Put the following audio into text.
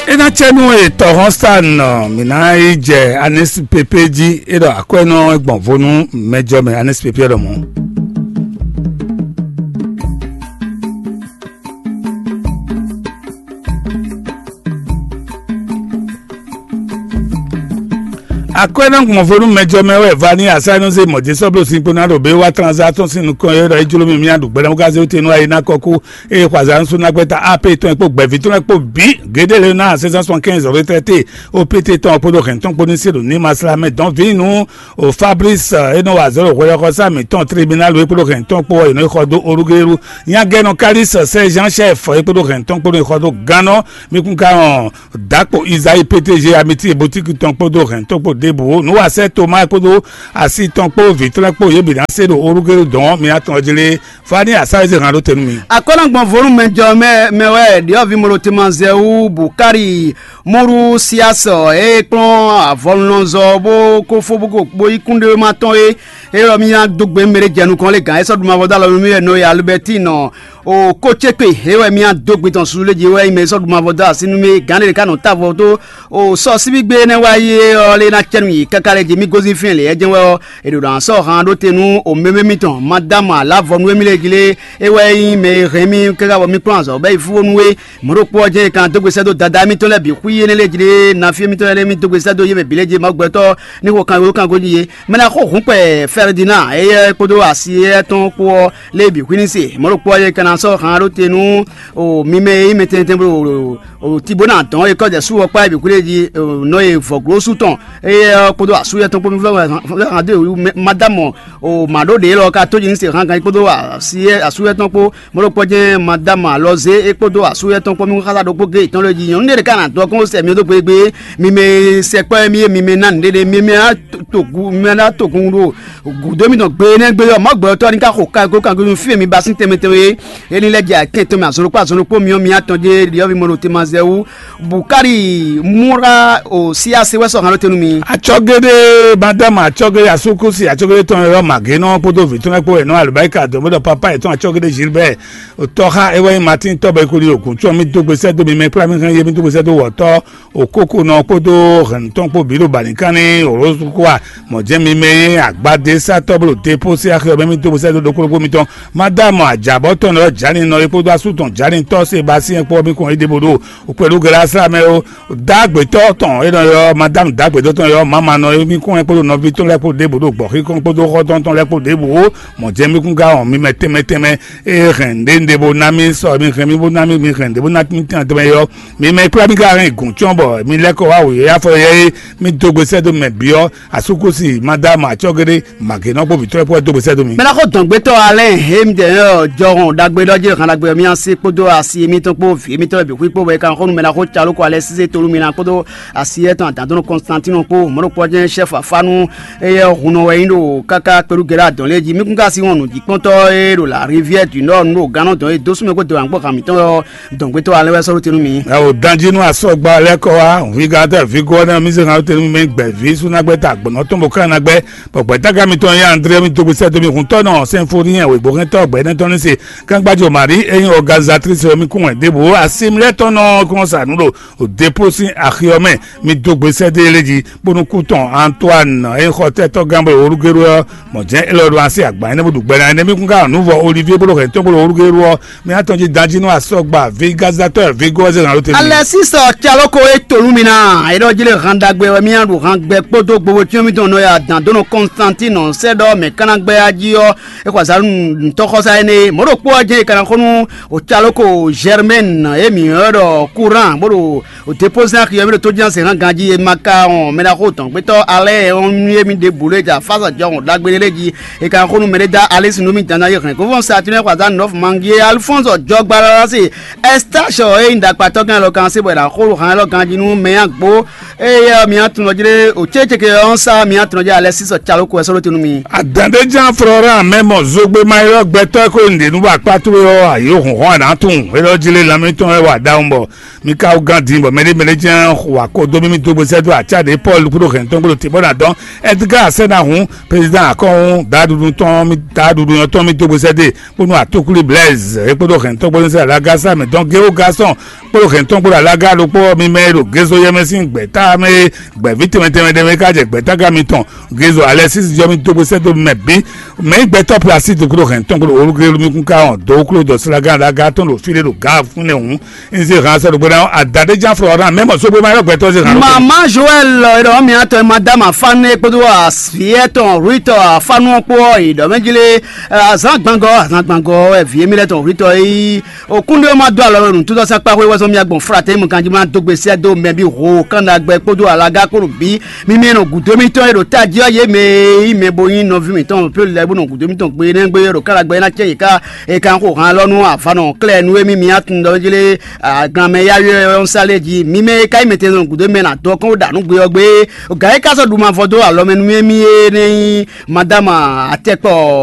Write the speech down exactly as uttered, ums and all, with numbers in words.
É ná cɛ nú etɔ́ hɔn sa nɔ mǐ ná yi jɛ anɛsipépé jí. É ɖɔ akwɛ́nɔ gbɔn vo nú mɛjɔ mɛ anɛsipépé ɖɔ mɔ̌. Akwɛ́nɔ gbɔn vo nú mɛjɔ mɛ wɛ va ní asá nɔ zé mɔ̌ jésɔ́ bló sin kpó ná ɖo bé wá tranzá tɔn sín nukɔn é ɖɔ é jló mì mía ɖu gbɛɖɛmú gázé wú te nú ayi ná kɔkú. Eye xwazǎn sú ná gbɛ́ta A P tɔn e kpó gbɛ̌ví tɔn lɛ́ɛ kpó bǐ gédé lě ná sɛ́n cent soixante-quinze retraité O P T tɔn kpódó hɛn tɔn kpó ní se ɖo ní maslá mɛ dɔn vǐ nú o Fabrice e nɔ wa azɔ̌ ɖo hwɛɖɔxɔsá mǐtɔn tribunal é kpódó hɛn tɔn kpó ɔ́, è nɔ yi xɔ dó Olugelu. Nyagɛnɔ Kalis sɛ́ Jean Chef é kpódó hɛn tɔn kpó nɔ yi xɔ dó gannɔ. Mi kún ka hɔn Dakpo Isayi P T G Amiti Boutique tɔn kpódó hɛn tɔn kpó ɖěbǔ. Nǔwasɛ Toma kpódó asi tɔn kpó vǐ tɔn lɛ́ɛ kpó yě bǐ ná se ɖo Olugelu dɔn ɔ́, mi ná tɔn jí lé. Fani asáwezí hàn ɖó te nú mi. Akɔ́nɔgbɔn vo nú mɛjɔ mɛ mɛ wɛ ɖiɔ́vi Molotema Zɛwu Bukari Muru Siasɔ e kplɔ́n avɔlunɔzɔ bó ko fó bó ko bó yí kúnɖéwéma tɔn é. É ɖɔ mì ná dó gbe mɛ ɖé jɛ nukɔn lé gǎn é sɔ́ ɖu mavɔ dó alɔ nú mì wɛ nɔ e Alibɛtín nɔ o kó cé kpe é wɛ mì ná dó gbe tɔn susu lé jí é wɛ nyí mɛ e sɔ́ ɖu mavɔ dó así nú mì gǎn ɖé ɖé ká nɔ tá avɔ dó o sɔ síbígbe énɛ́ wá yi é ɔ́ lé ná cɛ nú yě káká lé jí mì gosín fínɛ́ lě é jɛ́n wɛ ɔ́. È ɖo ɖo sɔ́ han ɖó te nú o mɛmɛ mitɔn Madámu Alavɔnu émí lɛ́ɛ jí lé. É wɛ nyí mɛ e hɛn mì káká bɔ mì kplɔ́n azɔ̌ bɔ é yi fúfónú é. Mɔ̌ ɖokpó ɔ́ jɛ́n è kan dó gbe sɛ́ dó Dadá émítɔn lɛ́ɛ bǐ xwí énɛ́ lɛ́ɛ jí lé. Nafí émítɔn lɛ́ɛ mì dó gbe sɛ́ dó yé mɛ bǐ lɛ́ɛ jí Mawu gbɛtɔ́ ní xo kan wéwé kan gó jí yé. Mɛ ná xó hǔn kpɛ Fɛridina éyɛ́ kpódó asi éyɛ́ tɔn kpó ɔ́ lé bǐ xwí ní se. Mɔ̌ ɖokpó ɔ́ jɛ́n è kan ná sɔ́ han ɖó te nú o mi mɛ e nyí mɛ tɛntɛn bó ɖo o ti bó ná dɔn é kɔ́ jɛ sú ɔ́ kpá é bǐ xwí lé jí o nɔ e vɔ̌glósú tɔn éyɛ́ ɔ́ kpódó asú yɛ́ tɔn kpó mi flɔ́ han dó Madámu o mǎ ɖó ɖě lɔ ka tó jí ní se han ganjí kpódó asú yɛ́ tɔn kpó. Mɔ̌ ɖokpó jɛ́n Madámu Alɔzé é kpódó asú yɛ́ tɔn kpó mi xá ɖokpó géé tɔn lé jí nyɔ̌nu ɖé ɖé ká ná dɔn kɔn sɛ mi dó gbégbé. Mi mɛ sɛkpɔ́ mi e mi mɛ ná nǔɖé mi mɛ ná togun mi mɛ ná togun ɖo gǔdo mitɔn gbe énɛ́ gbe ɔ́, mɔ̌ gbɛtɔ́ ní ká xo ka kó kan kó fí mi ba sín tɛnmɛ tɛnmɛ é. Éní lɛ́ jɛ akɛn tɔn mɛ azɔn ɖokpó azɔn ɖokpó myɔ mi atɔn jɛ ɖiɔ́ví mɔnɔ tema zɛ wú. Bukari múra o sí ase wɛ sɔ hàn ló tenu mi. Atsɔgede madame atsɔgede asukusi atsɔgede tɔn yɔ magenɔ kpódó vǐ tɔn kpó ɛnɔ alubaika dɔmɔdɔ papa yetɔn atsɔgede Gilbert. Tɔxa ewɛ martin tɔbɛ kuli okun tsɔ mi dógbe sɛ dó mi mɛ kpla mi hɛn ye mi dógbe sɛ dó wɔtɔ okoko nɔ kpódó hɛn tɔn kpó bǐ ɖo balikan ní olósukúa. Mɔ̌ jẹ́ mi mɛ e agbadé sá tɔ́ bó ɖo depo sí axi ɔ́ mɛ mi dógbe sɛ dó ɖokpóɖokpó mitɔn. Madame ajabɔ tɔn nɔ jani nɔ e kpódó asú tɔn jani tɔ́ se ba sí ɛ kpó mi kɔn é ɖe bo ɖo kpɛɖú gɛlɛ asla mɛ o. Dàgbétɔ tɔn e nɔ yɔ madame dàgbétɔ tɔn yɔ mama nɔ e mi kɔn ɛ kpódó nɔví tɔn lɛ kpó ɖe bo ɖo gbɔxi kɔn kpódó xɔtɔn tɔn lɛ kpó ɖe bo. Mɔ̌ jẹ́ mi kún ga wɔn mi mɛ tɛnmɛ tɛnmɛ e hɛn ɖe ɖe bo ná mi sɔ mi hɛn mi bo ná mi mi hɛn ɖe bo ná mi tɛnmɛ tɛnmɛ yɔ. Mi mɛ kplá mi ka hɛn gǔn cɔn bɔ mi lɛ́ kɔ wá wǔyɛ́yá fɔ yɛ é mi dó gbe sɛ́ dó mɛ byɔ́ asúkúsi madame atsɔ́géɖé màgěnɔ́ kpó vǐtɔ́ kpó dó gbe sɛ́ dó mi. Mɛ ná xó dɔn gbétɔ́ alɛ he mi dɛ ɔ jɔhɔn ɖagbe ɖɔ jí han ɖagbe mi asi kpódó asi mitɔn kpó vǐ mitɔn bǐ xwí kpó bɔ è kan xó nú mɛ ná xó calo kó alɛ sísé tolu mi ná kpódó asi etɔn adǎndɔn Constantino kpó mɔɖokpɔ jɛn chef afanu eye hunɔ wɛ nyí ɖo káká kpeɖu gɛɖɛ adɔn lé jí mi kún ka si wɔn nǔjíkpɔ́ntɔ e ɖo la rivière du nord nu ɖo gannɔ dɔn e dó súnmɛ kó dó ankpɔ han mitɔn ɔ dɔn gbétɔ́ alɛ wɛ sɔ́ ɖó te nú mi. Ɛ o danji nú asɔgba lɛ́ kɔ wá hwigantɛ vigo ɔ́ nɛ́ mi se hàn tenu mi gbɛ vi súnagbɛ ta gbɔnɔ tɔn bɔ ká nagbɛ bɔ gbɛtaga mitɔn yé André mi dogbe sɛ domi hun tɔnɔ sɛnfoni ɛ wegbo hɛn tɔ gbɛ nɛ tɔn ní se kangbajo Marie eyín organisatrice mi kún wɛ debo asimlɛ tɔnɔ kɔn sa nu ɖo o depo sín axiɔ mɛ mi dogbe sɛ dé lé jí bónú kú tɔn Antoine eyín xɔ tɛtɔ gán bɔ orugero ɔ mɔ jɛn elɔ ɖo asi agba ɛnɛ bó ɖu gbɛ na ɛnɛ mi kún ká nuvɔ Olivier bó ɖo hɛn tɔn bó ɖo orugero ɔ mi atɔn jí danji nú asɔgba vi gazatɔ vi gɔzɛ na ló tɛ. Alexis Caloko e tolu mi na e ɖɔ jí lé han ɖagbe wɛ mi aɖu han gbɛ kpódó gbogbo tí mi tɔn nɔ ya dan dó nɔ Constantine sɛ ɖɔ mɛ kánagbɛ ají ɔ e xɔ azalú ntɔxɔsa ɛnɛ mɔ̌ ɖo kpó ɔ́ jɛ́n e kana xó nú o Caloko Germaine e mi ɔ ɖɔ courant bó ɖo o dépose na xiyɔ mi ɖo tó jɛn se hàn ganji e ma ka ɔn mɛ na xó tɔn gbɛtɔ alɛ ɔn mi e mi ɖe bolo e ja fa sɔ jɔ hɔn ɖagbe lé ji e ka xó nú mɛ ɖé da alisi nú mi dan na ye hɛn kó fɔn sa tinɛ xɔ azalú nɔfɔ mangi e Alphonse jɔgba lɔ se Estache ɔ e nyi ɖakpatɔ́ gán lɔ kan se bɔ è nǎ xo han lɔ ganjí nú mɛ agbo eye ɔ́ mi atun lɔ jlé o cécéke ɔ́ sá mi atun lɔ jlé alɛ sísɔ calo ko wɛ sɔ́ ɖó te nú Adǎndéján Florent mɛ mɔ zogbe ma ylɔ́ gbɛtɔ́ e ko nǔɖé nú akpá towe ɔ́, ayǒ hɔn hɔn anǎ tunwun é ɖɔ jí lé lanmɛ tɔn wɛ wa ɖawun bɔ mi ka wú gán din bɔ mɛɖé mɛɖé jɛ́n wa ko dó mímí dó gbesɛ dó acá ɖě Pɔ́lu kúɖó hɛn tɔn gbɔdɔ tibɔ na dɔn Edgar Asɛna hun président akɔhun daɖuɖu tɔn mi daɖuɖu yɔn tɔn mi dó gbesɛ dé bónú atókúlí Blaise é kpódó hɛn tɔn gbɔdɔ sɛ alaga sá mɛ dɔn géwo gasɔn kpódó hɛn tɔn gbɔdɔ alaga ɖokpó mi mɛ ɖo gézo yɛmɛ sín gbɛtá mɛ gbɛ̌ví tɛnmɛ tɛnmɛ ɖɛmɛ ká jɛ gbɛtága mitɔn Gézo Alexis jɔ mi dó gbesɛ dó mɛ bí mɛ yi gbɛtɔ́ plasi dó kúrò hɛn tɔn kúrò olúkúlú mi kún ká hɔn dó kúrò dɔ slágán ɖaga tɔn ɖo fí ɖé ɖo gǎ fún nɛ hǔn. Nze hàn sɛ ɖo gbɛdá adadéjá flɔ ɔrán mɛ mɔ sógbó ma yɔ gbɛtɔ́ ze hàn ló. Mama Joël, e ɖɔ mi atɔ madame afane kpódó aviɛ tɔn ruitɔ afanu kpó, e ɖɔ mɛ jlé azan gbangɔ azan gbangɔ, e vie mi lɛ tɔn ruitɔ yi. Okúnɖé ma dó alɔ nǔtútɔ́ sakpa xwé wɛzɔ́n mía gbɔn flatɛ mu kanjí ma dó gbe sɛ́ dó mɛ bí ho kánɖagbɛ kpódó alaga kpódó bí. Mímí nɔ gǔdo mitɔn e ɖo tají ɔ́ yě mɛ e nyí mɛ bo nyí nɔví mǐtɔn plé lɛ́ɛ bó nɔ gǔdo mitɔn gbe énɛ́ gbe ɖo kánɖagbɛ ná cɛ yě ká e ka xo han lɔ nú avanɔ klɛ́ nú émí mi atun ɖɔ jlé aglanmɛ yáwé ɔ́ sá lé jí. Mímɛ e ka nyí mɛ tɛn nɔ gǔdo mɛ nɔ adɔ kɔn ɖo ɖa nǔ gbe ɔ́ gbe. Gǎ e ka sɔ́ ɖu mavɔ dó alɔ mɛ nú émí énɛ́ nyí madama atɛkpɔ